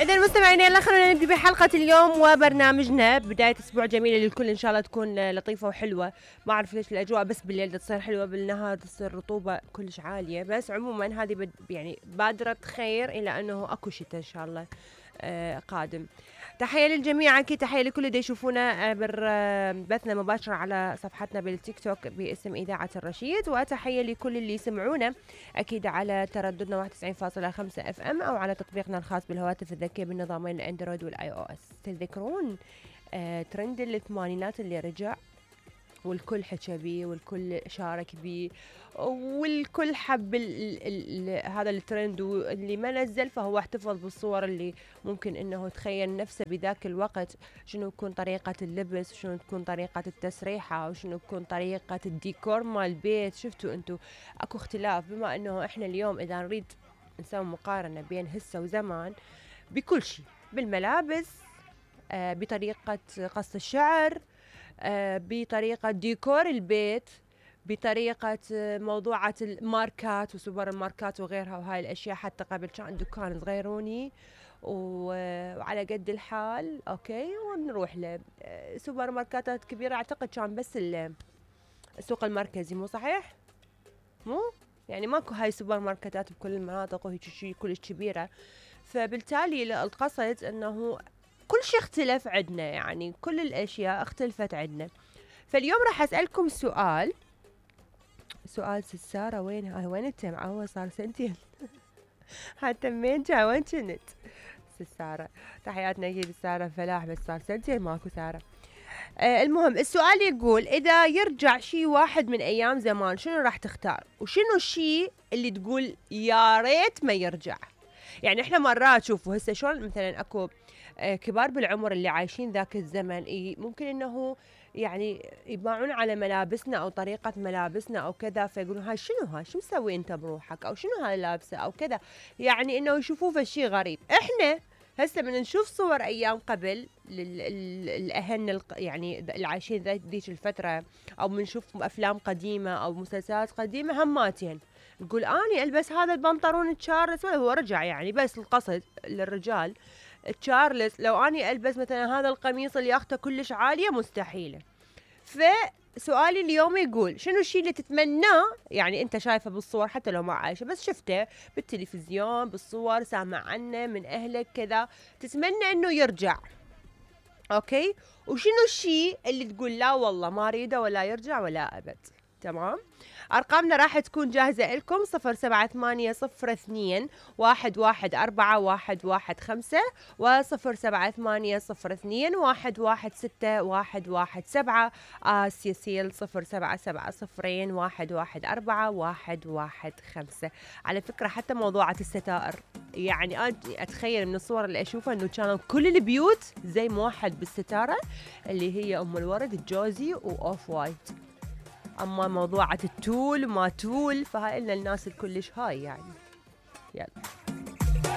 إذا مستمعينا يلا خلونا نبدأ بحلقة اليوم وبرنامجنا. بداية أسبوع جميلة للكل إن شاء الله تكون لطيفة وحلوة. ما أعرف ليش الأجواء بس بالليل تصير حلوة، بالنهار تصير رطوبة كلش عالية، بس عموما هذه يعني بادرة خير إلى أنه أكو شتاء إن شاء الله قادم. تحية للجميع، أكيد تحية لكل اللي يشوفونا بثنا مباشرة على صفحتنا بالتيك توك باسم إذاعة الرشيد، وتحية لكل اللي يسمعونا أكيد على ترددنا 91.5 FM أو على تطبيقنا الخاص بالهواتف الذكية بالنظامين الأندرويد والآي أو إس. تذكرون ترند الثمانينات اللي رجع والكل حكى بيه والكل شارك بيه والكل حب هذا الترند، واللي ما نزل فهو احتفظ بالصور اللي ممكن انه تخيل نفسه بذاك الوقت شنو تكون طريقة اللبس، شنو تكون طريقة التسريحة، وشنو تكون طريقة الديكور مال البيت. شفتوا انتو اكو اختلاف، بما انه احنا اليوم اذا نريد نسوي مقارنة بين هسه وزمان بكل شيء، بالملابس، بطريقة قص الشعر، بطريقة ديكور البيت، بطريقة موضوعة الماركات وسوبر الماركات وغيرها وهاي الأشياء. حتى قبل كان دكان صغيروني وعلى قد الحال أوكي، ونروح لسوبر ماركاتات كبيرة. أعتقد كان بس السوق المركزي، مو صحيح؟ مو يعني ماكو هاي سوبر ماركتات بكل المناطق وهيك شيء كلش كبيرة. فبالتالي القصد أنه كل شيء اختلف عندنا، يعني كل الأشياء اختلفت عندنا. فاليوم راح أسألكم سؤال سارة وين انت معوة؟ صار سنتين حتى مين جا وين كنت سارة؟ تحياتنا اكيد سارة فلاح، بس صار سنتين ماكو سارة. المهم السؤال يقول إذا يرجع شيء واحد من أيام زمان شنو راح تختار؟ وشنو الشيء اللي تقول يا ريت ما يرجع؟ يعني احنا مرات شوفوا هسه شلون مثلا اكو كبار بالعمر اللي عايشين ذاك الزمن، ممكن انه يعني يباعون على ملابسنا او طريقة ملابسنا او كذا، فيقولون هاي شنو مسوي انت بروحك، او شنو هاي لابسة او كذا، يعني انه يشوفوه فشي غريب. احنا هسه من نشوف صور ايام قبل الاهل يعني اللي عايشين ذيك الفترة، او بنشوف افلام قديمة او مسلسلات قديمة، هماتين نقول اني البس هذا البنطلون تشارلز، هو رجع يعني، بس القصد للرجال تشارلز، لو اني البس مثلا هذا القميص اللي اخته كلش عالية مستحيلة. فسؤالي اليوم يقول شنو الشيء اللي تتمناه، يعني انت شايفه بالصور حتى لو ما عايشه بس شفته بالتلفزيون بالصور سامع عنه من اهلك كذا، تتمنى انه يرجع، اوكي؟ وشنو الشيء اللي تقول لا والله ما اريده ولا يرجع ولا ابد؟ تمام. أرقامنا راح تكون جاهزة لكم 078021141115 و078021161117 سيسيل 077021141115. على فكرة حتى موضوعة الستائر، يعني أنا أتخيل من الصور اللي أشوفها أنه كانوا كل البيوت زي موحد بالستارة اللي هي أم الورد الجوزي وأوف وايت. أما موضوعة التول وما تول فهاي إلنا الناس الكلش هاي يعني. يلا